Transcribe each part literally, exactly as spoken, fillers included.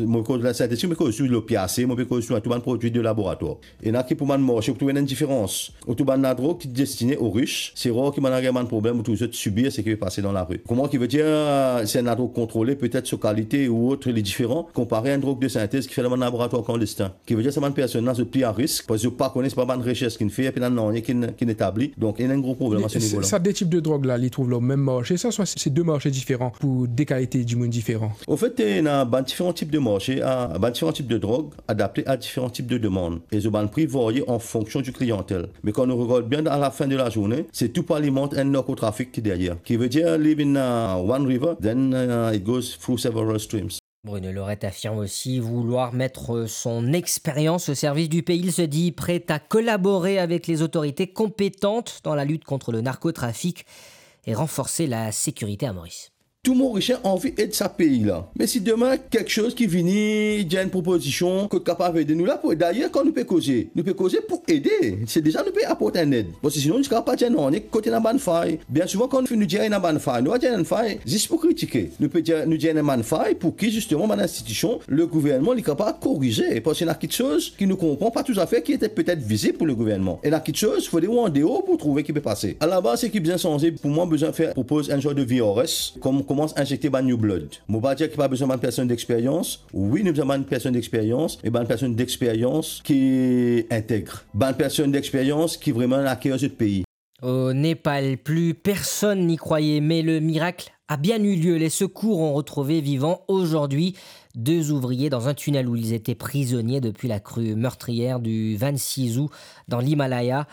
Mo koz lasintetik, mo koz sou lopiase, mo pe koz sou tou bann prodwi de laboratwar. Ena ki pou bann marse, ou trouve ena enn diferans. Ou trouve bann ladrog ki destine o rich, se rar ki bann la gagn bann problem, ou trouve zot sibir seki pe pase dan lari. Kouma ki vedir, se enn ladrog kontrole, petet so kalite ou ot, li diferan, konpare enn drog de sintez ki fer dan bann laboratwar klandestin. Ki vedir sa bann personn la, zot pli a risk, parski zot pa kone, se pa bann resers ki'nn fer, pena nanye ki'nn, ki'nn etabli. Donk, ena enn gro problem a se nivo la. Sa de tip de drog la, li trouv lor mem marse, sa, swa se de marse diferan pou de kalite dimoun diferan? Anfet, ena bann diferan tip de marse, a, bann diferan tip de drog, adapte a diferan tip de demann. E zot bann pri varye an fonksion di kliyantel. Me kan nou regard bien, a la fin de lazourne, se tou pou alimant enn narkotrafik ki deryer. Ki vedir, li vinn, euh, one river, then, euh, it goes through several streams. Bruno Lorette affirme aussi vouloir mettre son expérience au service du pays. Il se dit prêt à collaborer avec les autorités compétentes dans la lutte contre le narcotrafic et renforcer la sécurité à Maurice. Tou Morisien anvi ed sa pei la. Me si demin kiksoz ki vini, dir enn propozision kot kapav ede, nou la pou ede. Dayer, kan nou pe koze, nou pe koze pou ede. Se deza nou pe aport enn ed. Parski sinon, nou kapav pa dir nanye kot ena bann fay. Bien souvan, kan nou fini dir ena bann fay, nou pa dir ena fay zis pou kritike. Nou pe dir, nou dir ena bann fay pou ki, zisteman, bann institision, le gouvernman, li kapav korize. Parski ena kiksoz ki nou konpran pa touzafer, ki ete petet vizib pou le gouvernman. Ena kiksoz, fode ou andeor pou trouve ki pe pase. Alabaz, seki bizin sanze, pou mwa, bizin fer, propoz enn sort de V R S, kom, koumans inzekte bann new blood. Mo pa dir ki pa bizin bann personn dexperyans. Wi, nou bizin bann personn dexperyans, me bann personn dexperyans ki integre. Bann personn dexperyans ki vreman ena ker zot pei. Au Népal, plus personne n'y croyait, mais le miracle a bien eu lieu. Les secours ont retrouvé vivants aujourd'hui deux ouvriers dans un tunnel où ils étaient prisonniers depuis la crue meurtrière du vingt-six août dans l'Himalaya.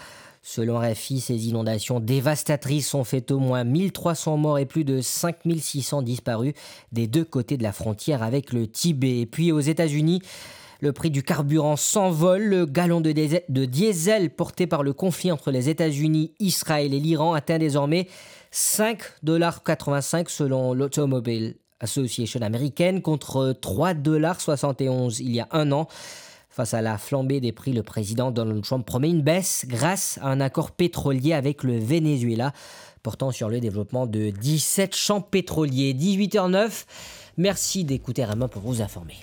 Selon R F I, ces inondations dévastatrices ont fait au moins mille trois cents morts et plus de cinq mille six cents disparus des deux côtés de la frontière avec le Tibet. Et puis aux États-Unis, le prix du carburant s'envole. Le gallon de, dé- de diesel porté par le conflit entre les États-Unis, Israël et l'Iran atteint désormais cinq dollars quatre-vingt-cinq selon l'Automobile Association américaine, contre trois dollars soixante et onze il y a un an. Face à la flambée des prix, le président Donald Trump promet une baisse grâce à un accord pétrolier avec le Venezuela, portant sur le développement de dix-sept champs pétroliers. Dix-huit heures neuf. Merci d'écouter R M A pour vous informer.